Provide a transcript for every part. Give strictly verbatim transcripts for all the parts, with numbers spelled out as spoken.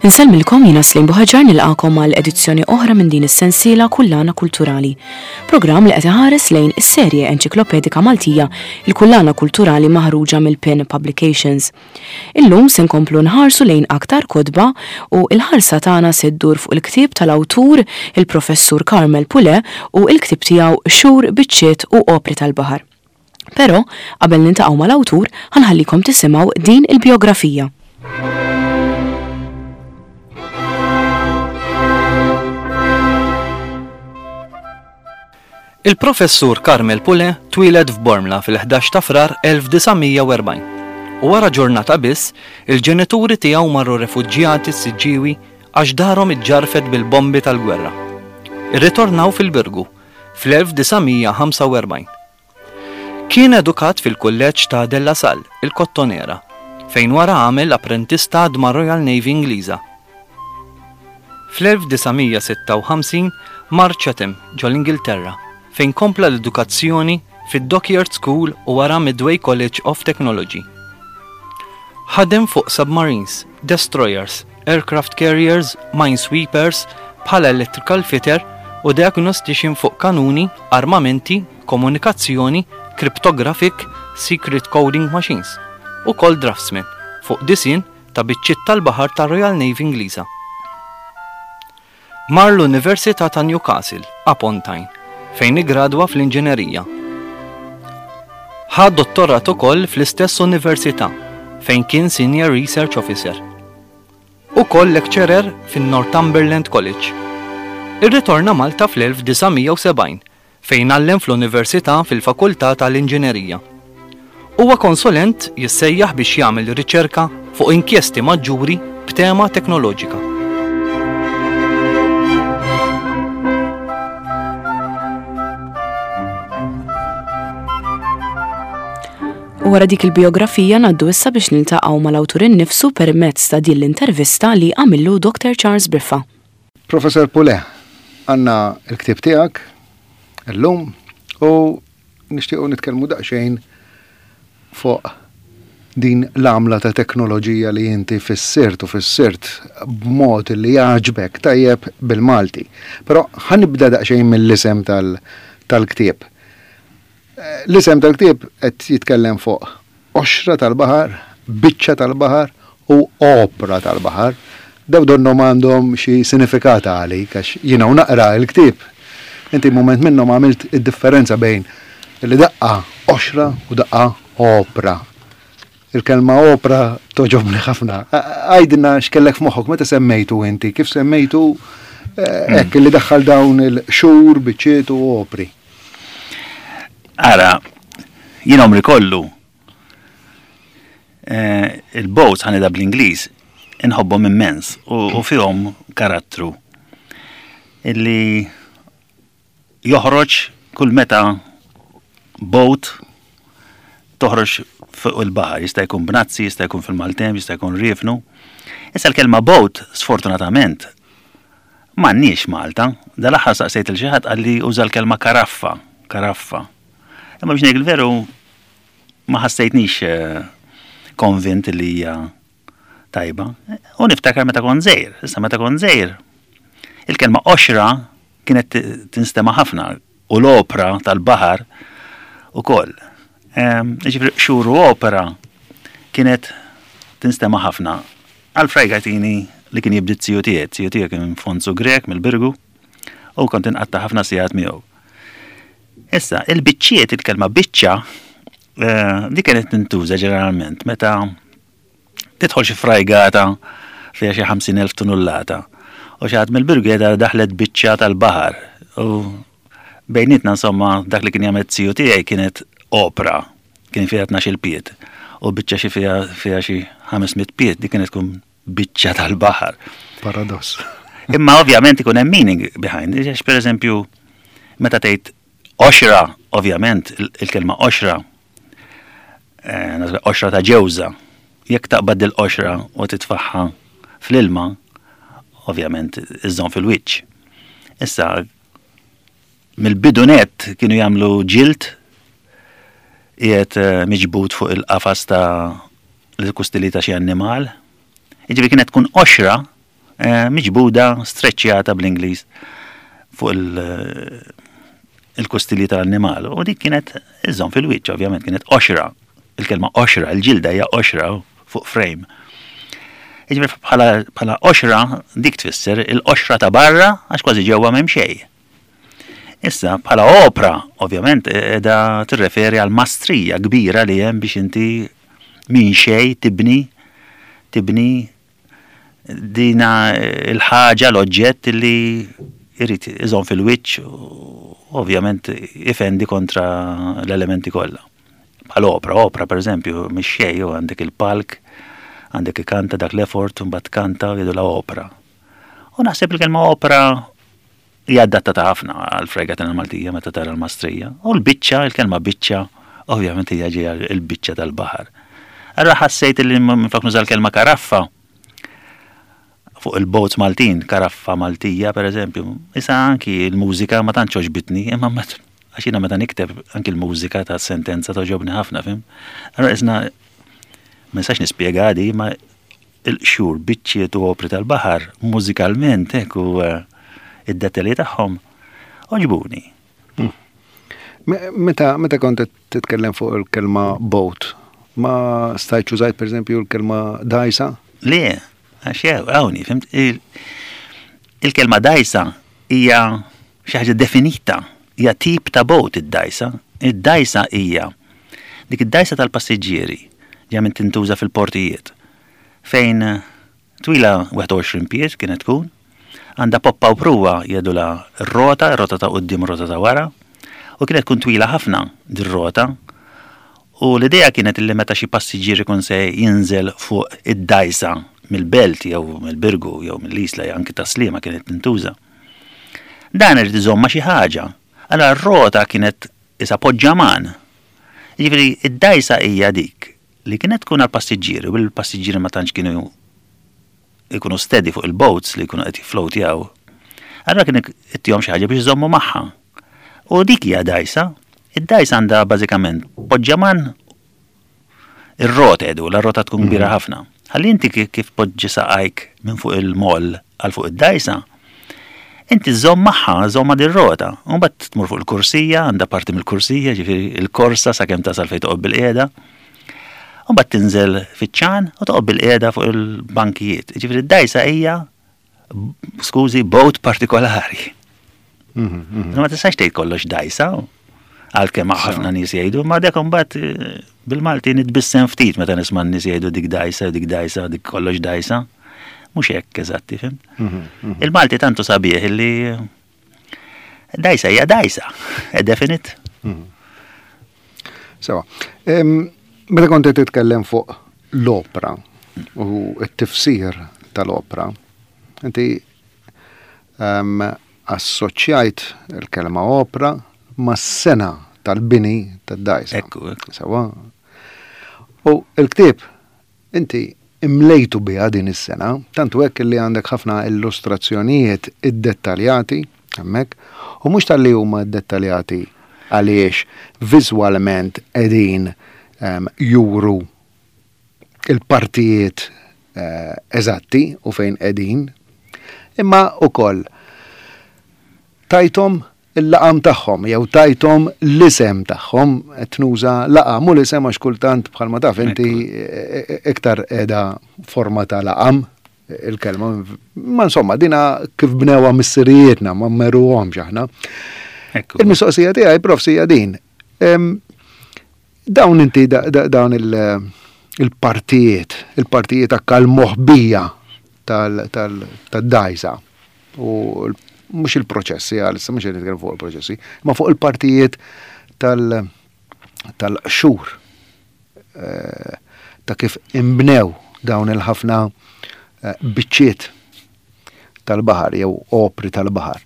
Insellmilkom, jiena Slim Buħaġar, nilqakom għal edizzjoni oħra minn din is-sensiela Kullana Kulturali. Programm li qed iħares lejn is-serje enċiklopedika Maltija, il-Kullana Kulturali, maħruġa mill-Pen Publications. Illum se nkomplu nħarsu lejn aktar kotba u il-ħarsa tagħna se ddur fuq il-ktieb tal-awtur, il-Professur Carmel Pule, u il-ktieb tiegħu Qxur, Biċċiet u Opri tal-Baħar. Però qabel niltaqgħu mal-awtur, ħa nħallikom tisimgħu din il-biografija. Il-Professur Carmel Pule twieled f'Bormla fil-ħdax ta' Frar elf disa' mija u erbgħin u wara ġurnata biss il-ġenituri tiegħu marru refuġjati s-Siġġiewi għax darhom iġġarfet bil-bombi tal-gwerra. Irritornaw fil-Birgu fl-elf disa' mija u ħamsa u erbgħin. Kien edukat fil-kulleġġ ta' De La Salle, il-Kottonera, fejn wara għamel apprentistat ma' Royal Navy Ingliża. Fl-elf disa' mija u sitta u ħamsin mar Chatham ġol-Ingilterra, fejn kompla l-edukazzjoni fid-Dockyard School u wara Medway College of Technology. Ħadem fuq submarines, destroyers, aircraft carriers, minesweepers, bħala electrical fitter u diagnostician fuq kanuni, armamenti, komunikazzjoni, cryptographic, secret coding machines, u ukoll draftsman fuq disinn ta' biċċiet tal-baħar ta' Royal Navy Ingliża. Mar l-Università ta' Newcastle, upon Tyne, fejn igradwa fl-inġinerija. Ħa dottorat ukoll fl-istess università, fejn kien Senior Research Officer. Ukoll lecturer fin-Northumberland College. Irritorna Malta fl-elf disa' mija u sebgħin, fejn għallem fl-Università fil-Fakultà tal-Inġinerija. Huwa konsulent jissejjaħ biex jagħmel riċerka fuq inkjesti maġġuri b'tema teknoloġika. U wara dik il-biografija ngħaddu issa biex niltaqgħu mal-awtur innifsu permezz ta' din l-intervista li għamillu Doktor Charles Briffa. Professor Pule, għandna il-ktieb tiegħek illum u nixtiequ nitkellmu daqsxejn fuq din l-għamla ta' teknoloġija li inti fissirt u fissirt b'mod li jagħġbek tajjeb bil-Malti. Però ħa nibda daqsxejn mill-isem tal-ktieb. L-isem tal-ktieb qed jitkellem fuq qoxra tal-baħar, biċċa tal-baħar u opra tal-baħar. Daw donnom għandhom xi sinifikat għalik, għax jiena u naqra l-ktieb. Inti moment minnhom għamilt id-differenza bejn li daqqa qoxra u daqqa opra. Il-kelma opra togħġobni ħafna. Għidilna x'kellek f'moħħok meta semmejtu inti, kif semmejtu eh, hekk li daħħal dawn il-qxur, biċċiet u opri. Ara, jien għomri kollu eh, il-boats, ħa ngħidha bl-Ingliż, inħobbhom immens u, u fihom karattru illi joħroġ kull meta boat toħroġ fuq il-baħar, jista' jkun bnazzi, jista' jkun fil-maltemp, jista' jkun riefnu. Issa l-kelma boat, sfortunatament, m'għandniex Malta. Dal-aħħar saqsejt lil xi ħadd, qalli uża l-kelma karaffa, karaffa. Imma biex ngħid il-veru ma ħassejtnix eh, konvint li hija tajba. U niftakar meta kont żgħir, issa meta kont żgħir, il-kelma qoxra kienet tinstema' ħafna u l-opra tal-baħar ukoll. Ġifieri qxur u opera kienet tinstema' ħafna. Għal frajgatini li kien jibdi z-ziju tiegħi, z-ziju tiegħi kien Fonzu Grek mill-Birgu u kont inqatta' ħafna sigħat miegħu. Issa, il-biċċiet, il-kelma biċċa, eh, di kienet tintuża ġeneralment meta tidħol xi frajgata fiha xi ħamsin elf tunullata. U xi ħadd mill-Birgu daħlet biċċa tal-baħar. U bejnietna, insomma, dak li kien jagħmel z-ziju tiegħi kienet opra, kien fiha tnax-il pied. U biċċa xi fiha fiha xi ħames mitt pied, dik kienet tkun biċċa tal-baħar. Paradoss. Imma ovvjament ikun hemm meaning behind, għax per eżempju, meta tgħid qoxra, ovvjament il-kelma qoxra, eh, qoxra ta' ġewża, jekk taqbad il-qoxra u titfagħha fl-ilma, ovvjament iżżomm fil-wiċċ. Issa, mill-bidu net kienu jagħmlu ġild qiegħed eh, miġbud fuq il-qafas ta' l-kustili ta' xi annimal. Jiġifieri kienet tkun qoxra eh, miġbuda, streċjata bl-Ingliż fuq il-kustilji tal-annimal. U dik kienet iżżomm fil-wiċċ, ovvjament, kienet qoxra. Il-kelma qoxra, il-ġilda hija qoxra fuq frame. Jiġifieri bħala qoxra dik tfisser il-qoxra ta' barra għax kważi ġewwa m'hemm xejn. Issa, bħala opra, ovvjament, qiegħda tirreferi għal mastrija kbira li hemm biex inti minn xejn tibni tibni dina il-ħaġa, l-oġġett li jrid iżomm fil-wiċċ u ovvjament ifendi kontra l-elementi kollha. Bħal opra, opra per eżempju, mhix xejn, għandek il-palk, għandek ikanta dak l-effort, mbagħad kanta jgħidu la opra. U naħseb il-kelma opra hija adattata ħafna għal fregatina Maltija meta tara l-mastrija. U l-biċċa, il-kelma biċċa, ovvjament hija ġejja l-biċċa tal-baħar. Allura ħassejt li minflok nuża l-kelma karaffa fuq il-boats Maltin, karaffa Maltija per eżempju, issa anki l-mużika ma tantx għoġbitni, imma għax jiena meta nikteb anki l-mużika ta' sentenza togħġobni ħafna, fhimt? Allura isna ma nistax nispjega di, ma il-qxur biċċiet u opri tal-baħar mużikalment hekk u eh, id-dettalji tagħhom għoġbuni. Hmm. Meta meta kont titkellem fuq il-kelma boat, ma stajtx użajt per eżempju l-kelma dajsa? Le, għax hawnhi, fhimt? Il-kelma dajsa hija xi ħaġa definita, hija tip ta' boat id-dajsa. Id-dajsa hija dik id-dajsa tal-passiġġieri ġa minn tintuża fil-portijiet fejn twila wieħed u għoxrin pied kienet tkun, għandha poppa u pruwa jgħidulha r-rota, rota ta' quddiem, rota ta' wara, u kienet tkun twila ħafna dir-rota. U l-idea kienet li meta xi passiġġier ikun se jinżel fuq id-dajsa mill-Belt jew mill-Birgu jew mill-Isla jew anki Tas-Sliema kienet tintuża. Dan irid iżomm ma' xi ħaġa. Allora r-rota kienet isa poġġaman. Jiġifieri id-dajsa hija dik li kienet tkun għal-passiġġieri u l-passiġġieri ma tantx kienu ikunu steady fuq il-boats li jkunu qed jiffloatjaw. Allora kien ittihom xi ħaġa biex iżommu magħha. U dik hija dajsa. Id-dajsa għandha bażikament poġġaman, ir-rota edu, la rota tkun kbira mhm. ħafna. Ħalli inti kif poġġi saqajk minn fuq il-moll għal fuq id-dajsa, inti żomm magħha, żomm ma' dir-rota. U mbagħad tmur fuq il-kursija, għandha parti mill-kursija, ġifieri il-korsa sakemm tasal fejn toqgħod bil-qiegħda. U mbagħad tinżel fiċ-ċan u toqgħod bil-qiegħda fuq il-bankijiet. Ġifieri d-dajsa hija, skużi, boat partikolari. Mhm, mhm. Ma tistax tgħid kollox dajsa, għalkemm ħafna nies jgħidu, ma dak imbagħad eh, bil-Malti nitbissem ftit meta nisma' nies jgħidu dik dajsa, dik dajsa, dik kollox dajsa. Mhux hekk eżatti, fhimt? Mhm, Il-Malti tantu sabiħ illi dajsa hija dajsa, è definite. Sewa. Meta kont titkellem fuq l-opra u t-tifsir tal-opra, inti um, assoċjajt il-kelma opra ma' sena tal-bini tad-dajsa. Ekku, ekku. Sewa. U il-ktieb inti imlejtu biha din is-sena, tantu hekk li għandek ħafna illustrazzjonijiet iddettaljati hemmhekk, u mhux talli huma dettaljati għaliex viżwalment qegħdin um, juru il-partijiet uh, eżatti u fejn qegħdin, imma ukoll tajthom il-laqam tagħhom jew tajthom l-isem tagħhom, qed nuża laqam u l-isem għax kultant, bħalma taf inti, e, e, iktar qiegħda forma ta' laqam il-kelma. Ma insomma, dina kif bnewha missirijietna, ma mmeruhomx aħna. Il-mistoqsija tiegħi, Prof, hija din. Dawn inti dawn il-partijiet, il-partijiet akka l-moħbija tal-dajsa u mhux il-proċessi, għal mhux qed nitkellem fuq il-proċessi, ma fuq il-partijiet tal-qxur eh, ta' kif imbnew dawn il-ħafna eh, biċċiet tal-baħar jew opri tal-baħar.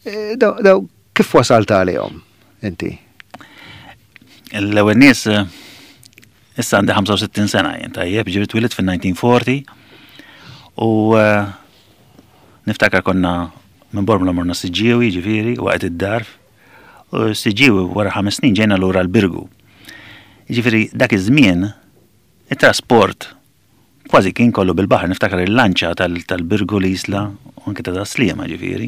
Eh, daw kif wasalt għalihom inti? L-ewwel nies, issa għandi ħamsa u sittin sena jien, tajjeb, ġifieri twilidt fin-elf disa' mija u erbgħin u niftakar konna minn Bormla morna Siġġiewi, ġifieri, waqt id-dar. U Siġġiewi wara ħames snin ġejna lura l-Birgu. Ġifieri dak iż-żmien it-trasport Kważi kien kollu bil-baħar, niftakar il-lanċa tal-Birgu, l-Isla u anke ta' Tas-Sliema ġifieri.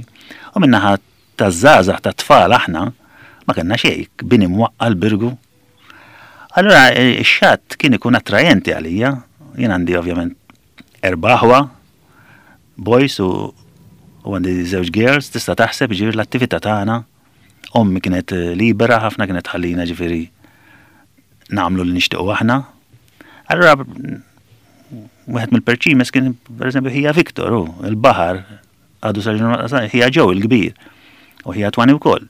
U min-naħa taż-żgħażagħ, tat-tfal, aħna ma kellna xejn, bini mwaqqa l-Birgu. Allura ix-xatt kien ikun attrajenti għalija. Jien għandi ovvjament erba' aħwa, boys u u għandi żewġ girls, tista' taħseb ġifieri l-attività tagħna. Ommi kienet libera ħafna, kienet tħallina ġifieri nagħmlu li nixtiequ aħna. Allura wieħed mill-perċimes kien, pereżempju, ħija Victor, u il-baħar għadu sa ħija ġew il-kbir u ħija Twani wkoll.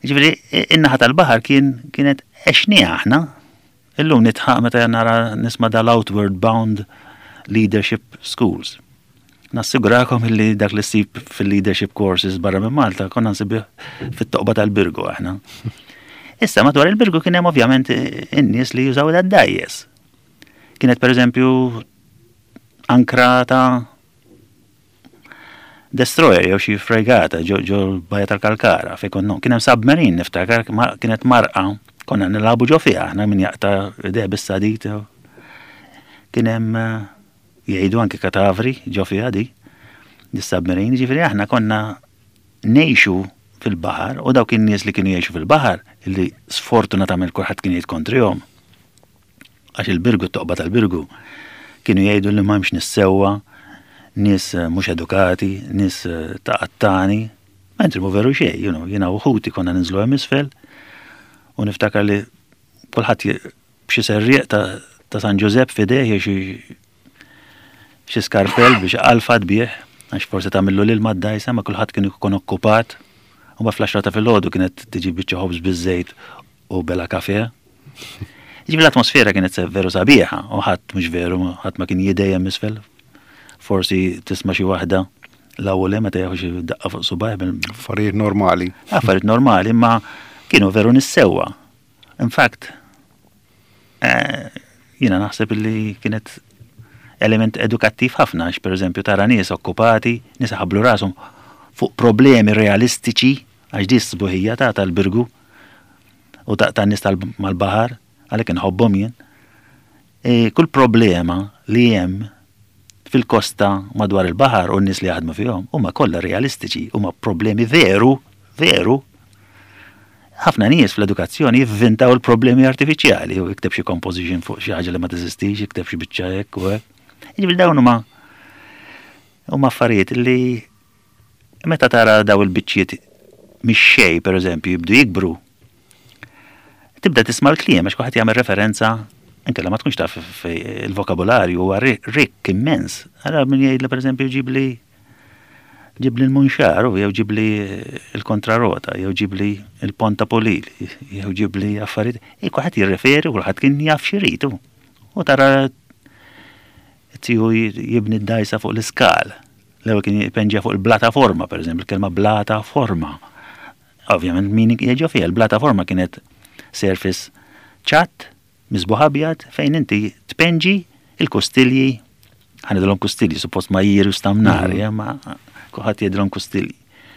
Ġifieri in-naħa tal-baħar kien kienet għexniha aħna. Illum nidħaq meta nara nisma' dal-Outward Bound Leadership Schools. Nassigurakom illi dak li ssib fil-leadership courses barra minn Malta konna nsibu fit-toqba tal-Birgu aħna. Issa madwar il-Birgu kien hemm ovvjament in-nies li jużaw id-dgħajjes. Kienet, pereżempju, ankra ta' destroyer jew xi fregata ġo l-Bajja tal-Kalkara fejn konna. Kien hemm submarine, niftakar kienet marqa, konna nilagħbu ġo fiha aħna, min jaqta' idejh bis-sadid. Kien hemm, jgħidu, anke katavri ġo fiha di dis-submarine, ġifieri aħna konna ngħixu fil-baħar u dawk in-nies li kienu jgħixu fil-baħar, li sfortunatament kulħadd kien jgħid kontrihom. Għax il-Birgu, t-toqba tal-Birgu, kienu jgħidu li m'hemmx nies sewwa, nies mhux edukati, nies ta' qattani, mentri mhu veru xejn, you know, jiena u ħuti konna ninżlu hemm isfel u niftakar li kulħadd b'xi serrieq ta', ta San Ġużepp f'idejh jew xi xi skarpell biex qalfat bih, għax forsi tagħmillu l-ilma d-dgħajsa, ma kulħadd kien ikun okkupat. U ma fl-għaxra ta' filgħodu kienet tiġi biċċa ħobż biż-żejt u bela kafe. Ġifieri l-atmosfera kienet veru sabiħa u ħadd, mhux veru, ħadd ma kien jidejjem isfel. Forsi tisma' xi waħda l-ewwel meta jieħu xi daqqa fuq subgħajh. Affarijiet normali. Affarijiet normali, imma kienu veru nies sewwa. In fact, eh, jiena naħseb li kienet element edukattiv ħafna, għax pereżempju tara nies okkupati, nies ħablu rashom fuq problemi realistiċi, għax di s-sbuħija ta' tal-Birgu u ta' tan-nies mal-baħar, għalhekk inħobbhom jien. E, kull problema li hemm fil-kosta madwar il-baħar u n-nies li jaħdmu fihom huma kollha realistiċi, huma problemi veru, veru. Ħafna nies fl-edukazzjoni jivvintaw il-problemi artifiċjali u jikteb xi composition fuq xi ħaġa li ma teżistix, jikteb xi biċċa hekk u hekk. Jiġifieri dawn huma huma affarijiet li meta tara daw il-biċċiet mix-xejn, pereżempju, jibdu jikbru. Tibda tisma' l-kliem għax kulħadd jagħmel referenza, inkella ma tkunx taf, il-vokabularju huwa rikk immens. Ara min jgħidli, pereżempju, ġibli ġibli l-munxar, jew ġibli il-kontrarota, jew ġibli il-ponta polil, jew ġibli affarijiet. E kulħadd jirreferi, kulħadd kien jaf x'iridu. U tara tiju jibni d-dgħajsa fuq l-iskal. L-ewwel kien jpenġa fuq il-blata forma, per eżempju, il-kelma blata forma. Ovvjament min jieġu fiha, il-blata forma kienet surface ċatt, miżbugħ abjad, fejn inti tpenġi il-kustilji, ħa ngħidulhom kustilji, suppost ma jiru stamnari, mm. ma kulħadd jgħidilhom kustilji.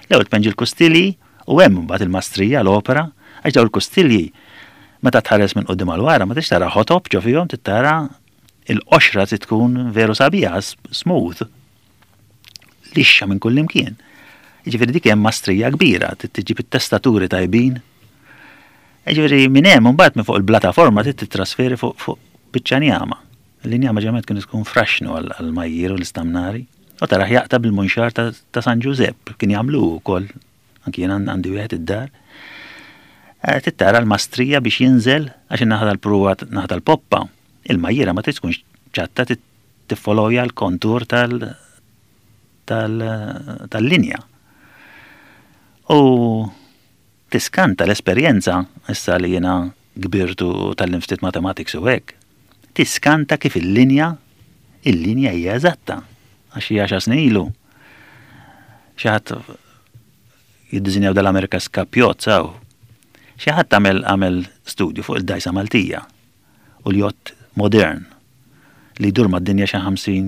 L-ewwel tpenġi l-kustilji u hemm mbagħad il-mastrija, l-opera, għax dawn il-kustilji meta tħares minn quddiem għal wara ma tix tara ħotob ġo fihom, tara il-qoxra trid tkun veru sabiħa, smooth. Lixxa minn kull imkien. Jiġifieri dik hemm mastrija kbira, tiġib it-testaturi tajbin. Jiġifieri minn hemm imbagħad minn fuq il-plataforma trid titrasferi fuq fuq biċċa njama. L-injama ġemet kien tkun fraxnu għal-majjir u l-istamnari. U taraħ jaqta' bil-munxar ta' San Ġużepp, kien jagħmlu wkoll, anki jien għandi wieħed id-dar. Eh, Tittara l-mastrija biex jinżel, għax in-naħa tal-pruwa, naħa tal-poppa, il-majjira ma trid tkunx ċatta, tiffolowja l-kontur tal-linja. U tiskanta l-esperjenza, issa li jiena kbirtu tgħallimt ftit mathematics u hekk, tiskanta kif il-linja, il-linja hija eżatta. Għax hija għaxar snin ilu. Xi ħadd jiddiżinjaw dal-America's Cup yacht saw. Xi ħadd għamel għamel studju fuq il-dgħajsa Maltija u l-yacht modern li jdur mad-dinja xi ħamsin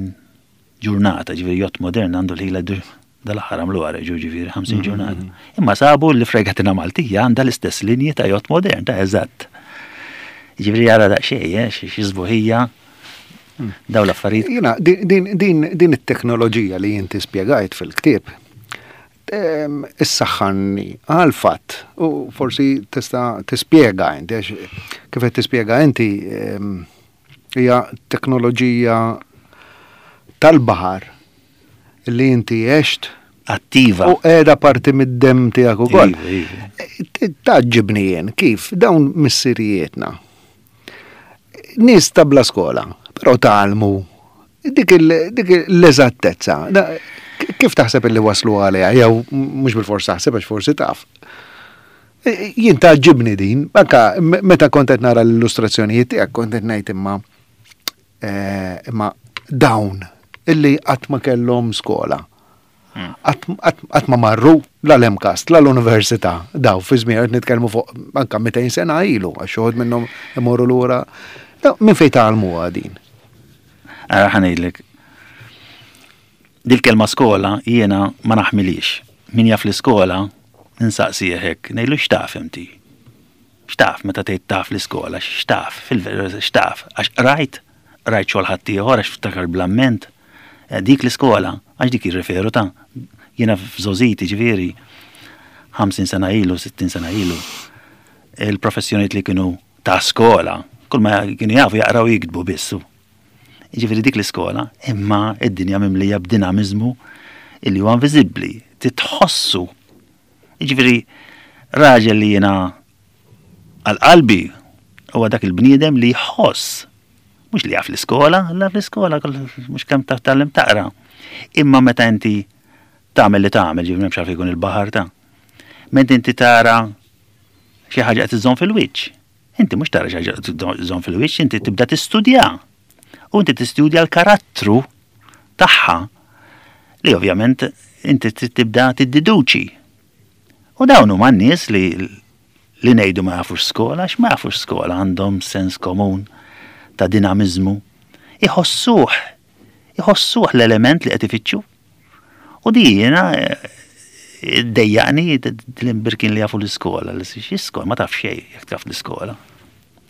ġurnata, ġifieri yacht modern għandu l-ħila jdur, dal-aħħar għamlu għareġu, ġifieri ħamsin ġurnata. Imma sabu li fregatina Maltija għandha l-istess linji ta' yacht modern, ta' eżatt. Ġifieri jara daqsxejn, eh, xi sbuħija Daw l-affarijiet. Jiena, din, din, din it-teknoloġija li inti spjegajt fil-ktieb, em, issaħħanni għal fatt u forsi tista' tispjega inti, għax kif qed tispjega inti, em, hija teknoloġija tal-baħar li inti għext Attiva. u qiegħda parti mid-dem tiegħek ukoll. Iva, iva. Tgħaġġibni jien kif dawn missirijietna. Nies ta' bla skola, però tgħallmu dik il- dik l-eżattezza. Da- Kif taħseb illi waslu għaliha, jew mhux bil-fors taħseb, għax forsi taf. E, Jien tgħaġġibni din, anka me- meta kont qed nara l-illustrazzjonijiet tiegħek, kont qed ngħid imma eh, imma dawn illi qatt ma kellhom skola. Qatt ma marru la l-MCAST, la l-università, daw fi żmien qed nitkellmu fuq anka mitejn sena ilu, għax uħud minnhom imorru lura. Daw, minn fejn tgħallmuha din? Ara, ħa ngħidlek. Dil-kelma skola jiena ma naħmilix. Min jaf l-iskola, ninsaqsi hekk, ngħidlu: "X'taf inti? X'taf meta tgħid taf l-iskola, x'taf, fil-veru x'taf? Għax rajt, rajt xogħol ħaddieħor, għax ftakar bl-amment. Eh, Dik l-iskola, għax dik jirreferu ta' jiena f'żgħożiti, ġifieri, ħamsin sena ilu, sittin sena ilu, il-professjoniet li kienu ta' skola, kull ma kienu jafu jaqraw, jiktbu bissu. Ġifieri dik l-iskola, imma id-dinja mimlija b'dinamizmu illi huwa inviżibbli, titħossu. Ġifieri raġel li jiena għal-qalbi huwa dak il-bniedem li jħoss. Mhux li jaf l-iskola, la fl-iskola mhux kemm taf tgħallem taqra. Imma meta inti tagħmel li tagħmel, ġifieri m'hemmx għalfejn jkun il-baħar ta'. Meta inti tara xi ħaġa qed iżżomm fil-wiċċ. Inti mhux tara xi ħaġa qed iżżomm fil-wiċċ, inti tibda tistudja. U inti tistudja l-karattru tagħha li ovvjament inti trid tibda tiddeduċi. U dawn huma n-nies li li ngħidu ma jafux skola, għax ma jafux skola, għandhom sens komun ta' dinamizmu. Iħossuh, iħossuh l-element li qed ifittxu. U di jiena eh, dejjaqni l-imbirkin li jafu l-iskola, li xi skola, ma taf xejn jekk taf l-iskola.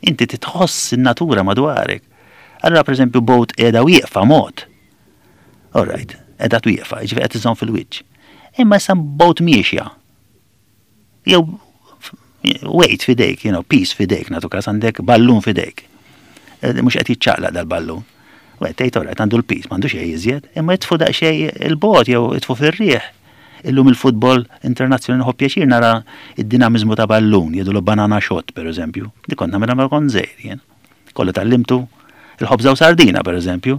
Inti titħoss in-natura madwarek. Allora, per eżempju, boat qiegħda wieqfa mod. All right, qiegħda wieqfa, ġifieri qed iżżomm fil-wiċċ. Imma issa boat miexja. Jew weight fidejk, you know, piece fidejk, nagħtu każ għandek ballun fidejk. Eh, Mhux qed jiċċaqlaq dal-ballun. U tgħid, all right, għandu l-piż, m'għandu xejn iżjed, imma jitfu daqsxejn il-bot jew itfu fir-riħ. Illum il-futbol internazzjonali nħobb pjaċir nara id-dinamizmu ta' ballun, jgħidu banana shot, per eżempju. Di kont nagħmilha meta kont żgħir jien. Kollu tgħallimtu il-ħobża u sardina, per eżempju.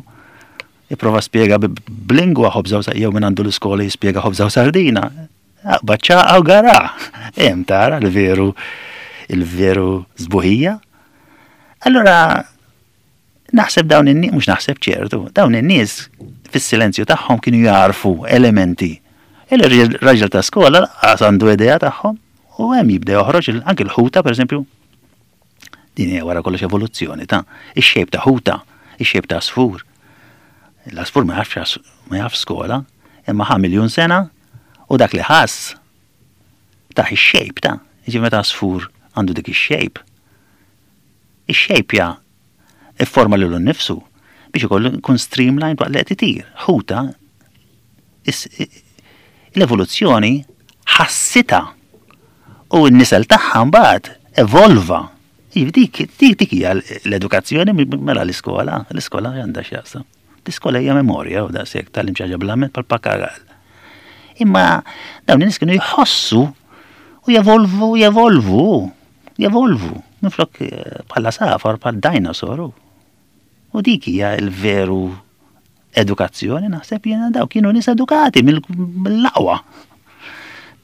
Ipprova spjega b'lingwa ħobża u jew minn għandu l-iskola jispjega ħobża u sardina. Baċċaqa u gara. Hemm tara l-veru il-veru sbuħija. Allora, naħseb dawn in-nies, mhux naħseb, ċertu, dawn in-nies fis-silenzju tagħhom kienu jarfu elementi. Il-raġel ta' skola lanqas għandu idea tagħhom u hemm jibda joħroġ anke l-ħuta, pereżempju. Din hija wara kollox evoluzzjoni ta' ix-shape ta' ħuta, ix-shape ta' għasfur. L-għasfur ma jafx ma jaf skola, imma ħa miljun sena u dak li ħass taħ ix-shape ta' ġi meta għasfur għandu dik ix-shape. Ix-shape ja ifforma lilu nnifsu biex ikollu jkun streamlined waqt li qed itir. Ħuta, l-evoluzzjoni ħassita u n-nisel tagħha mbagħad evolva. Iva, dik dik dik hija l-edukazzjoni, mela l-iskola, l-iskola għandha x'jaqsam. L-iskola hija memorja u daqshekk, tgħallem xi ħaġa bl-amment bħal-papagal. Imma dawn in-nies kienu jħossu u jevolvu, jevolvu, jevolvu. Minflok eh, bħala għasafar, bħal dinosaur. U dik hija l-veru edukazzjoni, naħseb jiena, daw kienu nies edukati mill-aqwa.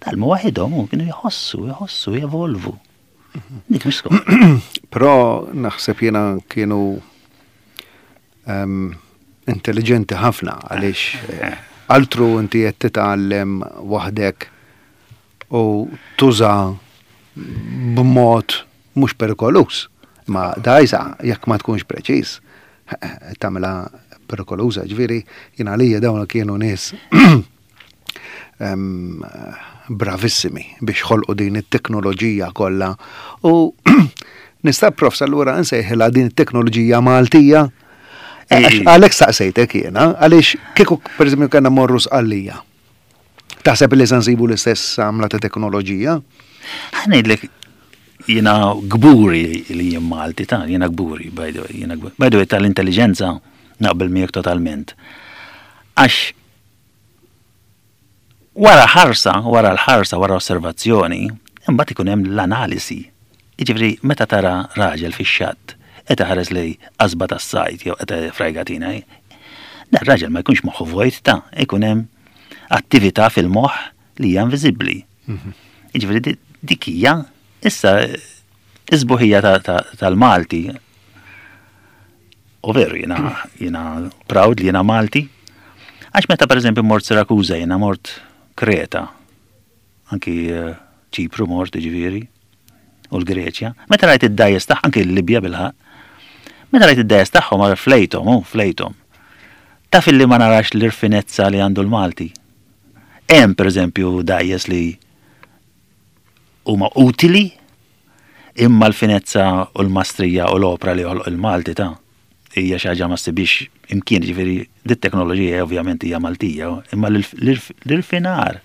Tgħallmu waħidhom u kienu jħossu, jħossu, jevolvu. Dik mhux skola. Però naħseb jiena kienu um, intelligenti ħafna, għaliex eh, altru inti qed titgħallem waħdek u tuża b'mod mhux perikoluż. Ma dgħajsa, jekk ma tkunx preċiż, tagħmilha perikoluża. Ġifieri jiena għalija dawn kienu nies em, bravissimi biex ħolqu din it-teknoloġija kollha. U nista', profs, allura nsejħilha din it-teknoloġija Maltija? Għalhekk saqsejtek jiena, għaliex kieku pereżempju kellna morru Sqallija. Taħseb li se nsibu l-istess għamla ta' teknoloġija? Ħa ngħidlek, jiena kburi li jien Malti, ta' jiena kburi, by the way, jiena kburi. By the way, tal-intelligenza naqbel miegħek totalment. Għax wara ħarsa, wara l-ħarsa, wara osservazzjoni, imbagħad ikun hemm l-analisi. Jiġifieri meta tara raġel fix-xatt qed iħares lejn qasba tas-sajd jew qed frajgatina, dan raġel ma jkunx moħħu vojt, ta' ikun hemm attività fil-moħħ li hija inviżibbli. Jiġifieri dik hija issa is-sbuħija tal-Malti. U veru jiena jiena proud li jiena Malti. Għax meta pereżempju mort Sirakuża, jiena mort Kreta, anki eh, Ċipru mort, ġifieri, u l-Greċja. Meta rajt id-dgħajjes tagħ anki l-Libja bilħaqq. Meta rajt id-dgħajjes tagħhom għal flejthom, u flejthom. Taf illi ma narax l-irfinezza li għandu l-Malti. Hemm pereżempju dgħajjes li huma utili, imma l-finezza u l-mastrija u l-opra li joħloq il-Malti ta' hija xi ħaġa ma ssibix imkien. Ġifieri dit teknoloġija ovvjament hija Maltija, imma l-irfinar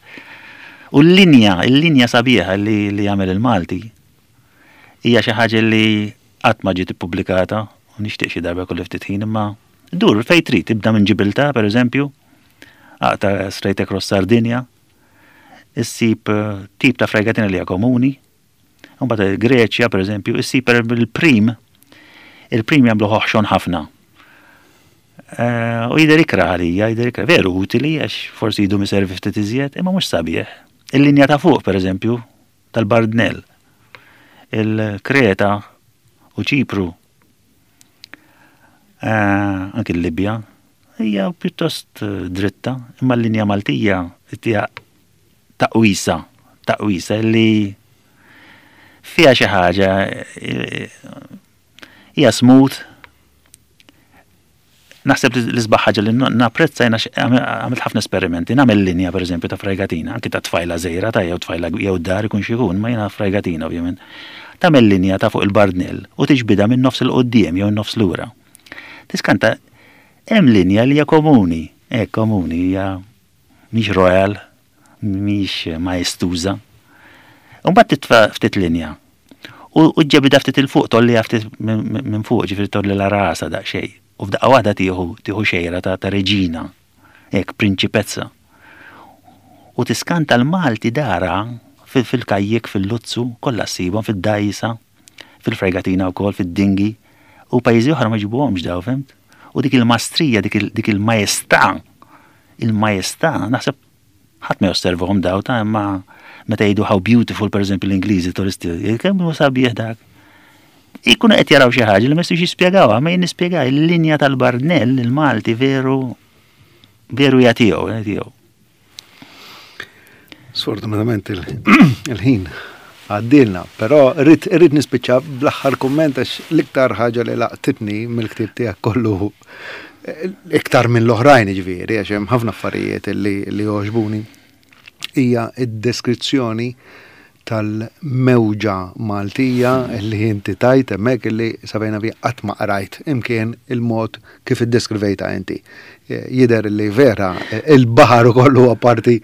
u l-linja, il-linja sabiħa li li jagħmel il-Malti hija xi ħaġa li qatt ma ġiet ippubblikata u nixtieq xi darba kolli ftit ħin, imma dur fejn trid, tibda minn Ġibiltà pereżempju, aqta' straight across Sardinia, issib eh, tip ta' fregatina li hija komuni. Mbagħad il-Greċja pereżempju, issib per il-prim, il-prim jagħmlu ħoxon ħafna. Eh, U jidher ikrah għalija, jidher ikrah. Veru utili għax forsi jidum iservi ftit iżjed, imma mhux sabiħ. Il-linja ta' fuq pereżempju tal-Bardnell, il-Kreta u Ċipru, eh, anki l-Libja, hija pjuttost eh, dritta, imma l-linja Maltija hija taqwisa, taqwisa li fiha xi ħaġa, eh, hija smooth. Naħseb li l-isbaħ ħaġa li napprezza jiena, għamilt ħafna esperimenti, nagħmel linja pereżempju ta' fregatina, anki ta' tfajla żgħira ta' jew tfajla jew dar ikun xi jkun, ma jiena fregatina ovvjament. Tagħmel linja ta' fuq il-bardnell u tiġbida minn nofs il-quddiem jew nofs lura. Tiskanta, hemm linja li hija komuni, hekk komuni, hija mhix royal, mhix maestuża. Mbagħad titfa' ftit linja. U ġġibidha ftit 'il fuq, tgħolliha ftit minn fuq, ġifieri tgħolli la rasa daqsxejn. U f'daqqa waħda tieħu tieħu xejra ta' ta' reġina, hekk prinċipezza. U tiskanta, l-Malti dara fil-kajjik, fil-luzzu, kollha ssibhom fid-dgħajsa, fil-fregatina wkoll, fid-dingi, u pajjiżi oħra ma jġibuhomx daw, fhimt? U dik il-mastrija, dik il-majestà, il-majestà, naħseb ħadd ma josservahom daw ta' imma meta jgħidu "how beautiful", pereżempju l-Ingliżi turisti, kemm hu sabiħ dak. Ikunu qed jaraw xi ħaġa li ma jistgħux jispjegawha, ma jien nispjega il-linja tal-Bardnell, il-Malti veru veru hija tiegħu, tiegħu. Sfortunatament il-ħin għaddilna, però rrid rrid nispiċċa bl-aħħar kumment, għax l-iktar ħaġa li laqtitni mill-ktieb tiegħek kollu, iktar minn l-oħrajn ġifieri, għax hemm ħafna affarijiet li li jogħġbuni, hija id-deskrizzjoni tal-mewġa Maltija li inti tajt hemmhekk, li sabejna bi qatt ma qrajt imkien il-mod kif iddeskrivejta inti. Jidher li vera il-baħar ukoll huwa parti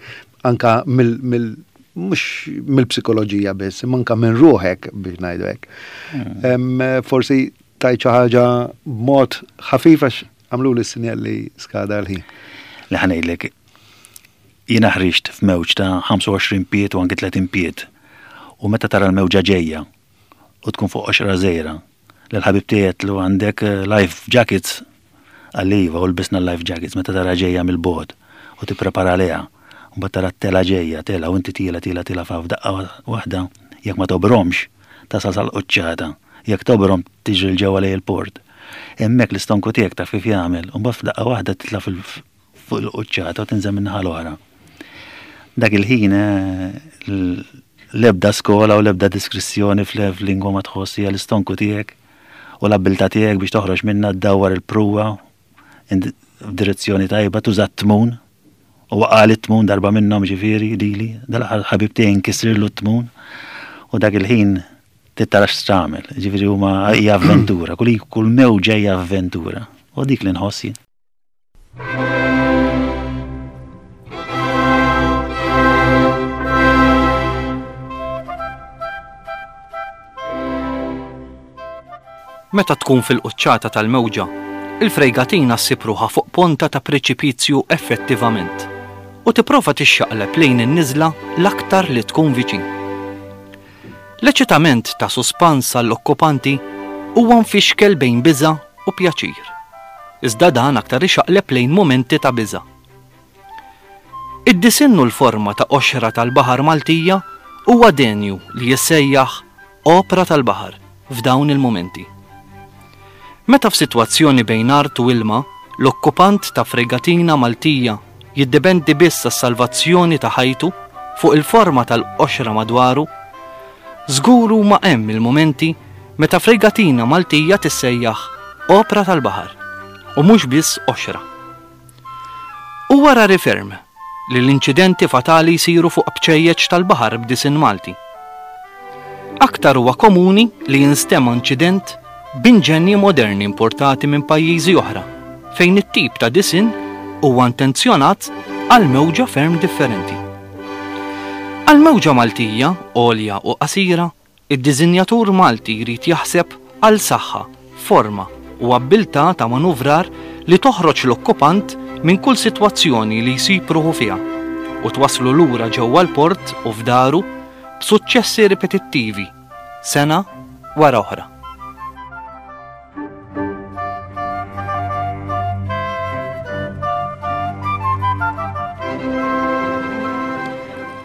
anka mill mill mhux mill-psikoloġija biss, imma anka minn ruħek, biex ngħidu hekk. Hmm. Forsi tajt xi ħaġa b'mod ħafif, għax għamlu li sinjal li skada l-ħin. Li ħa ngħidlek, jiena ħriġt f'mewġ ta' ħamsa u għoxrin pied u anki tletin pied. U meta tara l-mewġa ġejja u tkun fuq qoxra żgħira, l-ħabib tiegħek lu "Għandek eh, life jackets?" Qalli "Iva", u lbisna life jackets. Meta tara ġejja mill-bogħod u tipprepara għaliha, u mbagħad tara t-tela ġejja, tela u inti tiela tiela tiela fa f'daqqa waħda, jekk ma tobromx tasal sal-quċċata, jekk tobrom tiġri 'l ġewwa lejn il-port. Hemmhekk l-istonku tiegħek taf kif jagħmel, u mbagħad f'daqqa waħda titla' fuq il-quċċata u tinżel minn l-oħra. Dak il-ħin eh, l-ebda skola u l-ebda diskrizzjoni fl-lingwa ma tħoss, hija l-istonku tiegħek u l-abilità tiegħek biex toħroġ minna, ddawwar il-pruwa f'direzzjoni tajba, tuża t-tmun. U waqagħli t-tmun darba minnhom, ġifieri lili, dal-ħabib tiegħi nkisrirlu t-tmun u dak il-ħin tittarax x'tagħmel. Ġifieri huma hija avventura, kull kull mewġa hija avventura. U dik li nħoss jien. Meta tkun fil-quċċata tal-mewġa, il-frejgatina ssib ruħha fuq ponta ta' preċipizju effettivament u tipprova tixxaqleb lejn in-niżla l-aktar li tkun viċin. L-eċitament ta' suspans għall-okkupanti huwa mfixkel bejn biża' u pjaċir. Iżda dan aktar ixaqleb lejn mumenti ta' biża'. Id-disinn u l-forma ta' qoxra tal-baħar Maltija huwa denju li jissejjaħ opra tal-baħar f'dawn il-mumenti. Meta f'sitwazzjoni bejn art u ilma, l-okkupant ta' fregatina Maltija jiddependi biss għas-salvazzjoni ta' ħajtu fuq il-forma tal-qoxra madwaru, żgur huma hemm il-mumenti meta fregatina Maltija tissejjaħ opra tal-baħar u mhux biss qoxra. Huwa rari ferm li l-inċidenti fatali jsiru fuq bċejjeċ tal-baħar b'disinn Malti. Aktar huwa komuni li jinstema' inċident b'inġenji moderni importati minn pajjiżi oħra, fejn it-tip ta' disinn huwa intenzjonat għal mewġa ferm differenti. Għal mewġa Maltija, għolja u qasira, id-disinjatur Malti jrid jaħseb għal saħħa, forma u abbiltà ta' manuvrar li toħroġ l-okkupant minn kull sitwazzjoni li jsib ruħu fiha u twaslu lura ġewwa l-port u f'daru b'suċċessi ripetittivi, sena wara oħra.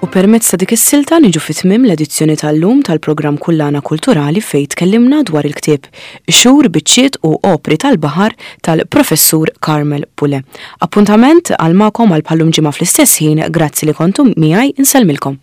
U permezz ta' dik is-silta niġu fi tmiem l-edizzjoni tal-lum tal-programm Kullana Kulturali fejn tkellimna dwar il-ktieb Xhur, Biċċiet u Opri tal-Baħar tal-Professur Carmel Pule. Appuntament għal magħkom għal bħallum ġimgħa fl-istess ħin, grazzi li kontum miegħi, insellmilkom.